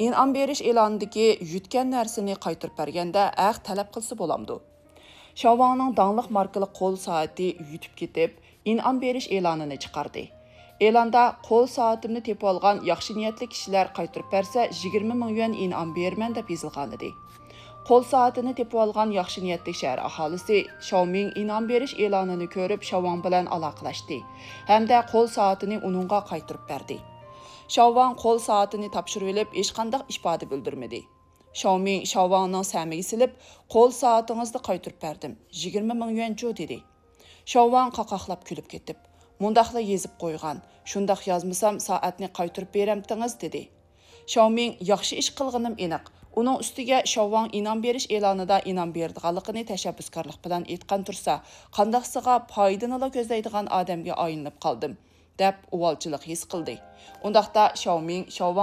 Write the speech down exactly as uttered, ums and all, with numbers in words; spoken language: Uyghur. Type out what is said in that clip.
ئىنئام بېرىش ئېلانىدىكى يۈتكەن نەرسىنى قايتۇرۇپ بەرگەندە ھەق تەلەپ قىلسا بولامدۇ؟ شاۋاڭنىڭ داڭلىق ماركىلىق قول سائىتى يۈتۈپ كېتىپ، ئىنئام بېرىش ئېلانىنى چىقاردى. ئېلاندا «قول سائىتىمنى تېپىۋالغان ياخشى نىيەتلىك كىشىلەر قايتۇرۇپ بەرسە، يىگىرمە مىڭ يۈەن ئىنئام بېرىمەن» دەپ يېزىلغانىدى. قول سائىتىنى تېپىۋالغان ياخشى نىيەتلىك شەھەر ئاھالىسى شاۋمىڭ ئىنئام بېرىش ئېلانىنى كۆرۈپ، شاۋاڭ بىلەن ئالاقىلەشتى ھەمدە قول سائىتىنى ئۇنىڭغا قايتۇرۇپ بەردى. شاۋاڭ قول سائىتىنى تاپشۇرۇۋېلىپ، ھېچقانداق ئىپادە بىلدۈرمىدى. شاۋمىڭ شاۋاڭنىڭ سەمىگە سېلىپ، «قول سائىتىڭىزنى قايتۇرۇپ بەردىم، يىگىرمە مىڭ يۈەن جۇ» دېدى. شاۋاڭ قاقاقلاپ كۈلۈپ كېتىپ، «مۇنداقلا يېزىپ قويغان، شۇنداق يازمىسام سائەتنى قايتۇرۇپ بېرەمتىڭىز» دېدى. شاۋمىڭ «ياخشى ئىش قىلغىنىم ئېنىق. ئۇنىڭ ئۈستىگە شاۋاڭ ئىنئام بېرىش ئېلانىدا ئىنئام بېرىدىغانلىقىنى تەشەببۇسكارلىق بىلەن ئېيتقان تۇرسا، قانداقسىغا پايدىنىلا كۆزلەيدىغان ئادەمگە ئايلىنىپ قالدىم» دەپ ئۇۋالچىلىق ھېس قىلدى. ئۇنداقتا شاۋمىڭ شاۋاڭ